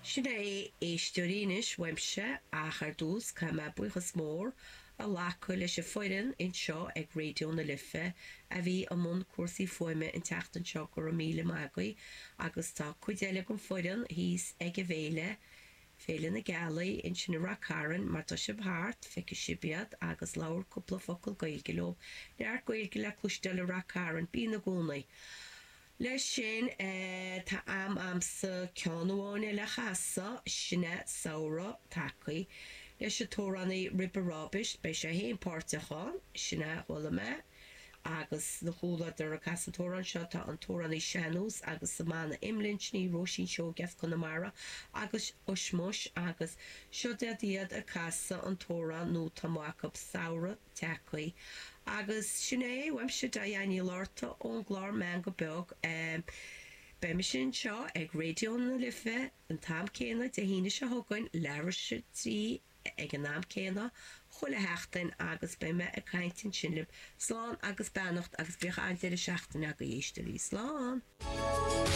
Sin é a éisteoirí anois uaimse ach ar dtús caithfidh mé buíochas mór a ghlacadh leis an foireann anseo ag Raidió na Life a bhí i mbun cúrsaí fuaime an tseachtain seo, go raibh míle maith agaibh agus tá cuid eile den foireann thíos ag an bhféile, Féile na Gealaí, ansin i Rath Cairn, má tá sibh thart, feicfidh sibh iad agus labhair cúpla focal Gaeilge leo, neart Gaeilge le cloisteáil i Rath Cairn, bíonn i gcónaí. Leis sin, tá am a'msa ceann amháin eile a chasadh, sin é Samhradh Tagthaí leis an t-amhránaí Ribe Ráibeis, beidh sé féin páirteach ann, sin é a chuala mé, agus 'na chomhluadar ag casadh an t-amhrán seo tá an t-amhránaí sean-nós agus sa mbanna Imlinn, sin í Róisín Seoige as Conamara agus Ushmush agus seo iad iad ag casadh an t-amhrán nó tá amuigh acu Samhradh Tagthaí. Agus sin é uaimse Diane Ní Fhlatharta ón gclár Meangadh Beag. Beidh mise anseo ag Raidió na Life an t-am céanna Dé hAoine seo chugainn, leathuair tar éis a 3 ag an am céanna chuile sheachtain agus beidh mé ag caint ansin libh. Slán agus beannacht agus bíodh an-deireadh seachtaine agaibh, a éisteoirí. Slán!